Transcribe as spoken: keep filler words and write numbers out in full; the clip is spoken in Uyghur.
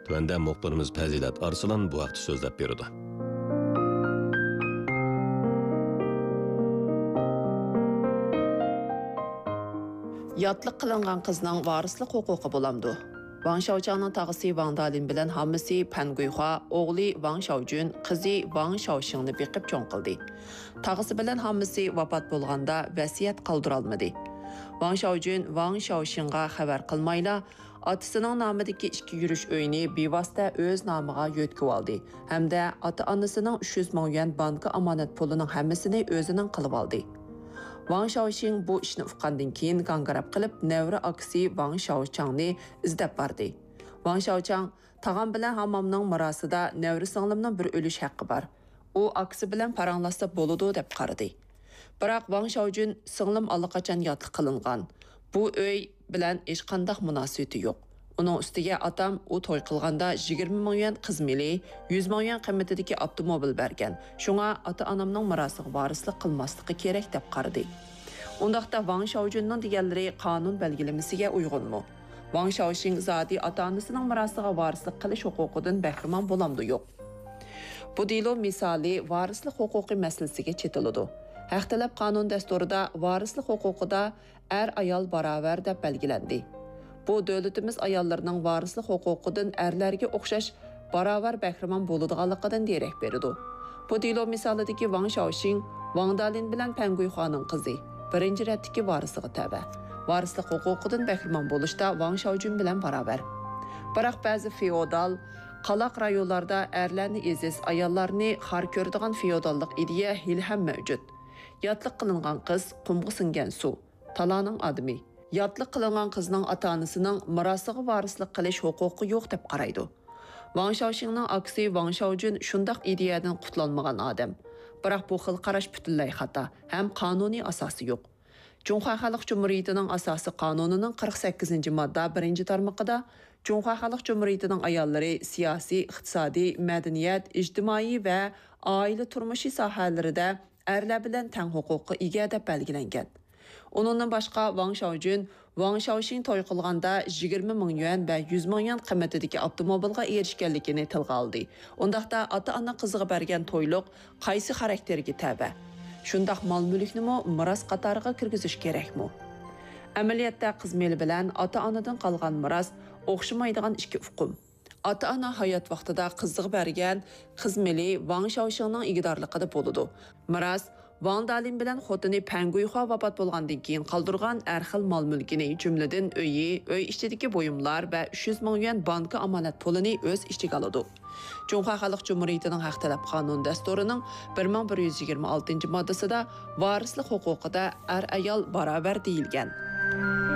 تۆۋەندە مۇخبىرىمىز پەزىلەت ئارسلان بۇ ھەقتە سۆزلەپ بېرىدۇ. ياتلىق قىلىنغان قىزنىڭ ۋارىسلىق ھوقۇقى بولامدۇ؟ ۋاڭ شاۋچاڭنىڭ تاغىسى ۋاڭ دالىن بىلەن ھاممىسى پەن گۇيخۇا، ئوغلى ۋاڭ شاۋجۈن، قىزى ۋاڭ شاۋشىڭنى بېقىپ چوڭ قىلدى. تاغىسى بىلەن ھاممىسى ۋاپات بولغاندا ۋەسىيەت قالدۇرالمىدى. ۋاڭ شاۋجۈن ۋاڭ شاۋشىڭغا خەۋەر قىلمايلا، ئاتىسىنىڭ نامىدىكى ئىككى يۈرۈش ئۆينى بىۋاسىتە ئۆز نامىغا يۆتكىۋالدى ھەمدە ئاتا-ئانىسىنىڭ ئۈچ يۈز مىڭ يۈەن بانكا ئامانەت پۇلىنىڭ ھەممىسىنى ئۆزىنىڭ قىلىۋالدى. ۋاڭ شاۋشىڭ بۇ ئىشنى ئۇققاندىن كېيىن گاڭگىراپ قېلىپ، نەۋرە ئاكىسى ۋاڭ شاۋچاڭنى ئىزدەپ باردى. ۋاڭ شاۋچاڭ، تاغام بىلەن ھاممامنىڭ مىراسىدا نەۋرە سىڭلىمنىڭ بىر ئۈلۈش ھەققى بار. ئۇ ئاكىسى بىلەن پاراڭلاشسا بولىدۇ دەپ قارىدى. بىراق ۋاڭ شاۋجۈن سىڭلىم ئاللىقاچان ياتلىق قىلىنغان. بۇ ئۆي بىلەن ھېچقانداق مۇناسىۋىتى يوق. ئۇنىڭ ئۈستىگە ئاتام ئۇ توي قىلغاندا يىگىرمە مىڭ يۈەن قىز مېلى، يۈز مىڭ يۈەن قىممىتىدىكى ئاپتوموبىل بەرگەن. شۇڭا ئاتا-ئانامنىڭ مىراسىغا ۋارىسلىق قىلماسلىقى كېرەك دەپ قارىدى. ئۇنداقتا ۋاڭ شاۋجۈننىڭ دېگەنلىرى قانۇن بەلگىلىمىسىگە ئۇيغۇنمۇ؟ ۋاڭ شاۋشىڭ زادى ئاتا-ئانىسىنىڭ مىراسىغا ۋارىسلىق قىلىش ھوقۇقىدىن بەھرىمەن بولامدۇ يوق؟ بۇ دېلو مىسالى ۋارىسلىق ھوقۇقى مەسىلىسىگە چېتىلىدۇ. ھەق تەلەپ قانۇن دەستۇرىدا ۋارىسلىق ھوقۇقىدا ئەر-ئايال باراۋەر دەپ بەلگىلەندى. بۇ دۆلىتىمىز ئاياللىرىنىڭ ۋارىسلىق ھوقۇقىدىن ئەرلەرگە ئوخشاش باراۋەر بەھرىمەن بولىدىغانلىقىدىن دېرەك بېرىدۇ. بۇ دېلو مىسالىدىكى ۋاڭ شاۋشىڭ، ۋاڭ دالىن بىلەن پەن گۇيخۇانىڭ قىزى، بىرىنچى رەتتىكى ۋارىسىغا تەۋە. ۋارىسلىق ھوقۇقىدىن بەھرىمەن بولۇشتا ۋاڭ شاۋجۈن بىلەن باراۋەر. بىراق بەزى فېئودال، قالاق رايونلاردا ئەرلەرنى ئېزىز، ئاياللارنى خار كۆرىدىغان فېئوداللىق ئىدىيە ھېلىھەم مەۋجۇت. ياتلىق قىلىنغان قىز قۇمغا سىڭگەن سۇ، تالانىڭ ئادىمى. ياتلىق قىلىنغان قىزنىڭ ئاتا-ئانىسىنىڭ مىراسىغا ۋارىسلىق قىلىش ھوقۇقى يوق دەپ قارايدۇ. ۋاڭ شاۋشىڭنىڭ ئاكىسى ۋاڭ شاۋجۈن شۇنداق ئىدىيەدىن قۇتۇلالمىغان ئادەم. بىراق بۇ خىل قاراش پۈتۈنلەي خاتا ھەم قانۇنىي ئاساسى يوق. جۇڭخۇا خەلق جۇمھۇرىيىتىنىڭ ئاساسىي قانۇنىنىڭ قىرىق سەككىزىنچى ماددا بىرىنچى تارمىقىدا جۇڭخۇا خەلق جۇمھۇرىيىتىنىڭ ئاياللىرى سىياسىي، ئىقتىسادىي، مەدەنىيەت، ئىجتىمائىي ۋە ئائىلە تۇرمۇشى ساھەلىرىدە ئەرلەر بىلەن تەڭ ھوقۇققا ئىگە دەپ بەلگىلەنگەن. ئۇنىڭدىن باشقا، ۋاڭ شاۋجۈن، ۋاڭ شاۋشىڭ توي قىلغاندا يىگىرمە مىڭ يۈەن ۋە يۈز مىڭ يۈەن قىممىتىدىكى ئاپتوموبىلغا ئېرىشكەنلىكىنى تىلغا ئالدى. ئۇنداقتا، ئاتا-ئانا قىزىغا بەرگەن تويلۇق قايسى خاراكتېرگە تەۋە؟ شۇنداق مال-مۈلۈكنىمۇ مىراس قاتارىغا كىرگۈزۈش كېرەكمۇ؟ ئەمەلىيەتتە، قىز مېلى بىلەن ئاتا-ئانىدىن قالغان مىراس ئوخشىمايدىغان ئىككى ئۇقۇم. ئاتا-ئانا ھايات ۋاقتىدا قىزىغا بەرگەن قىز مېلى ۋاڭ شاۋشىڭنىڭ ئىگىدارلىقىدا بولىدۇ. مىراس ۋاڭ دالىن بىلەن خوتۇنى پەن گۇيخۇا ۋاپات بولغاندىن كېيىن قالدۇرغان ھەر خىل مال-مۈلكىنى، جۈملىدىن ئۆيى، ئۆي ئىچىدىكى بۇيۇملار ۋە ئۈچ يۈز مىڭ يۈەن بانكا ئامانەت پۇلىنى ئۆز ئىچىگە ئالىدۇ. جۇڭخۇا خەلق جۇمھۇرىيىتىنىڭ ھەق تەلەپ قانۇن دەستۇرىنىڭ بىر مىڭ بىر يۈز يىگىرمە ئالتىنچى ماددىسىدا ۋارىسلىق ھوقۇقىدا ئەر-ئايال باراۋەر دېيىلگەن.